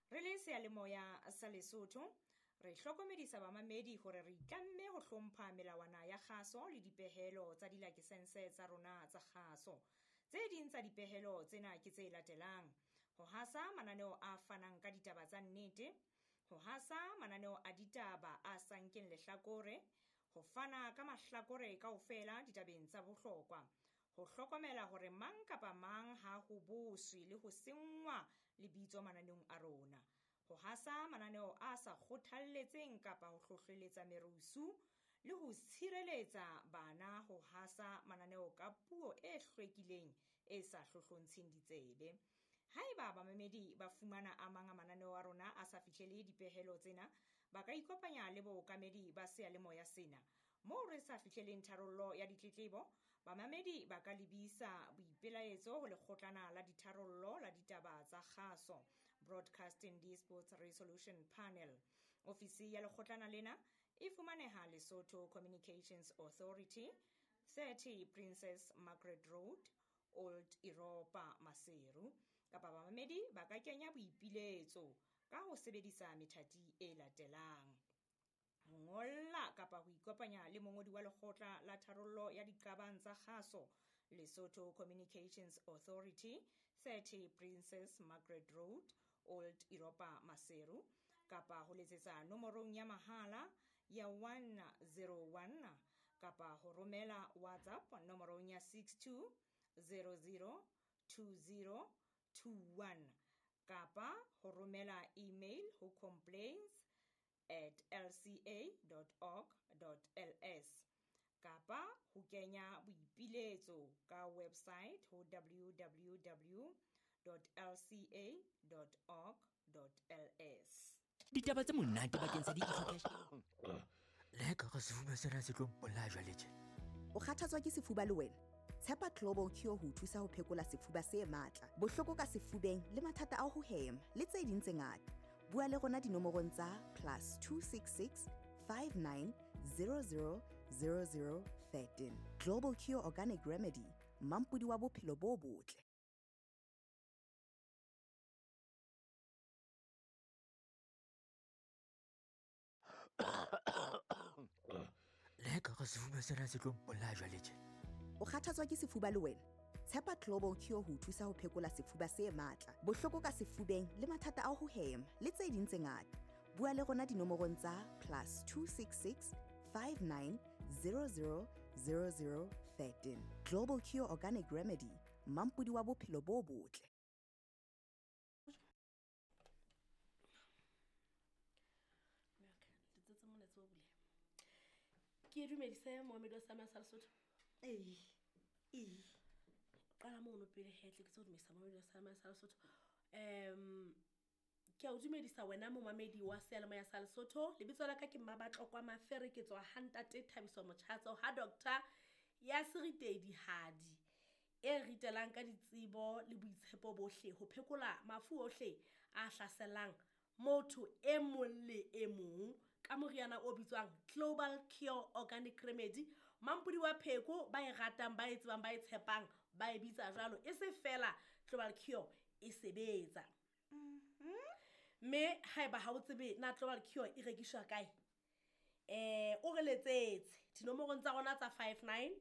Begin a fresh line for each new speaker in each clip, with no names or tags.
Re le seyalemoya sa Lesotho, re hlokomedisa bamamedi hore re itlamme ho hlompha melawana ya kgaso le dipehelo tsa dilakesense tsa rona tsa kgaso. Tse ding tsa dipehelo tsena ke tse latelang: ho hasa mananeo a fanang ka ditaba tsa nnete, ho hasa mananeo a ditaba a sa nkeng lehlakore, ho fana ka mahlakore kaofela ditabeng tsa bohlokwa, ho hlokomela hore mang kapa mang ha ho boswe le ho senngwa lebitso mananeong a rona, ho hasa mananeo a sa kgothalletseng kapa ho hlohleletsa merusu le ho tshireletsa bana ho hasa mananeo ka puo e hlwekileng e sa hlohlontsheng ditsebe. Haeba bamamedi ba fumana a mang a mananeo a rona a sa fihlele dipehelo tsena, ba ka ikopanya le bookamedi ba seyalemoya sena. Moo re sa fihleleng tharollo ya ditletlebo, bamamedi ba ka lebisa boipelaetso ho lekgotlana la ditharollo la ditaba tsa kgaso, Broadcasting Disputes Resolution Panel. Ofisi ya lekgotlana lena e fumaneha Lesotho Communications Authority, 30 Princess Margaret Road, Old Europa, Maseru. Kapa bamamedi ba ka kenya boipiletso ka ho sebedisa methati e latelang: ho ngolla kapa ho ikopanya le mongodi wa lekgotla la tharollo ya diqabang tsa kgaso, Lesotho Communications Authority, 30 Princess Margaret Road, Old Europa, Maseru, kapa ho letsetsa nomorong ya mahala ya 101 kapa ho romela WhatsApp nomorong ya 62 00 20 21 kapa ho romela email ho complaints@lca.org.ls kapa ho kenya boipiletso ka website ho www.lca.org.ls.
Ditaba tse monate bakeng sa di-ecocash.
Le ka re sefuba sena se tlo mpolaya jwale tje.
O kgathatswa ke sefuba le wena? Tshepa Global Cure ho o thusa ho phekola sefuba se matla, bohloko ka sefubeng le mathata a ho hema le tse ding tse ngata. Bua le rona dinomorong tsa +266 59 00 00 13. Global Cure Organic Remedy, mampodi wa bophelo bo botle.
Le ka re sefuba sena se tlo mpolaya jwale tje.
O kgathatswa ke sefuba le wena? Tshepa Global Cure ho o thusa ho phekola sefuba se matla, bohloko ka sefubeng le mathata a ho hema le tse ding tse ngata. Bua le rona dinomorong tsa +266 59 00 00 13. Global Cure Organic Remedy, mampodi wa bophelo bo botle.
Letsetse molaetsa o buleha. Ke dumedise moamedi wa Samia sa Lesotho.
Ee. Ee.
Qala mono pele hetle ke tse o dumedisa moamedi wa Samia sa Lesotho. Ke a o dumedisa wena momamedi wa seyalemoya sa Lesotho. Lebitso la ka ke Mmabatlokwa Mafere, ke tswa ha ntate Thabiso Motjhatso ha doctor ya Seritedi Hadi e ritelang ka ditsebo le boitshepo bohle ho phekola mafu ohle a hlaselang motho e mong le e mong ka moriana o bitswang Global Cure Organic Remedy. Mampodi wa pheko ba e ratang, ba e tsebang, ba e tshepang, ba e bitsa jwalo. E se fela Global Cure e sebetsa. Mme haeba ha o tsebe na Global Cure e rekiswa kae, o re letsetse dinomorong tsa rona tsa 59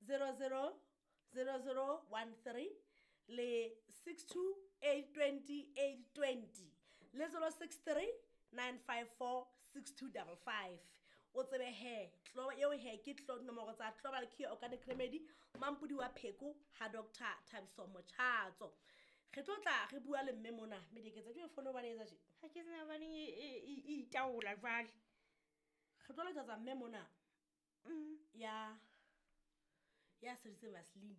00 00 13 le 62 820 820 le 063 954 6255. O tsebe he tlo eo he ke tlo dinomoro tsa Global Cure Organic Remedy, mampodi wa pheko ha Dr. Thabiso Motjhatso. Re tlo tla re bua le mme mona, mme diketsa ke fono ba etsa tje.
Ha ke tsena baneng e itaola jwale.
Re tlo letsetsa mme mona. Ya sebedisitseng Vaseline.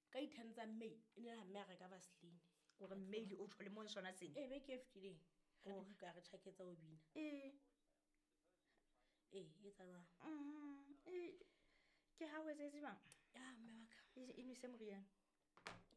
Ka di-ten tsa May, e ne le ha mme a reka Vaseline.
Hore May le o tjho le mong sona sena.
Ee, beke e fetileng. Re di buka, re tjhaketsa ho bina. Ee, e etsa jwang?
Ke ha o etsetse jwang?
Ya, mme wa ka.
E nwese moriana.